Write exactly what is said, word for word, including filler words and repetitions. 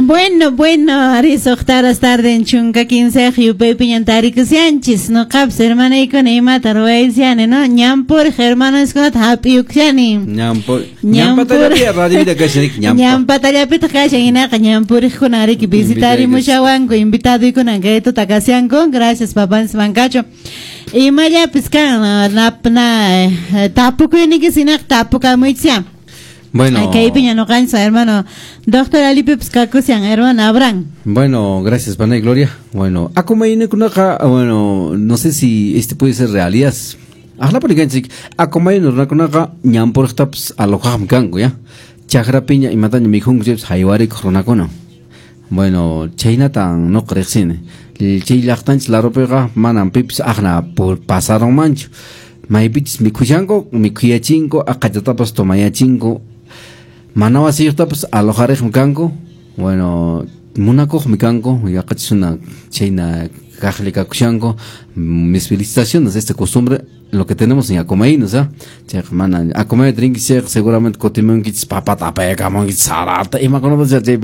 Bueno, bueno, ari suqta tarde en chunka kinsa yupaypiñan tarikushanchis noqapis hermanaykuna imata ruwayshani, no? Ñampuriq hermanoskunata hap'iyukushani. Ñampur ñampatallapi radio kashan ñampa. Ñampatallapitaq kashan hinaqa ñampuriqkuna riki visitarimushawanku invitadoykuna kay tuta kashanku. Gracias, papanchis Mancacho. Imallapis kan napna tapukuynikis hinaqa tapukamuychis. Bueno. Kaypiña noqanchis hermano doctor Alipipis kakushan hermano Abraham. Bueno, gracias, Pana y Gloria. Bueno, akumaynukunaqa, bueno, no sé si este puede ser realidad. Aqlaparikanchik, Acomayo runakunaqa ñampuriqtapas alojaqmi kanku, ya. Chakrapiña imataña mikhunku chaypas haywarikuq runakuna. Bueno, chaynatan nuqa riqsini. Chay llaqtanchis larupiqa manam pipis aqna pasarunmanchu. Maypichis mikhushanku, mikhuyachinku, aqachatapas tomayachinku. Mana wasiyuqtapas alojariqmi kanku. Bueno, munakuqmi kanku, yaqachis una chayna kaqli kakushanku. Mis felicitaciones, esta costumbre lo que tenemos en Acomaínos, ¿ah? Chayqa mana Acomayo rinki chayqa seguramente kutimunkichis papata apayakamunkichis sarata imakunapas chay.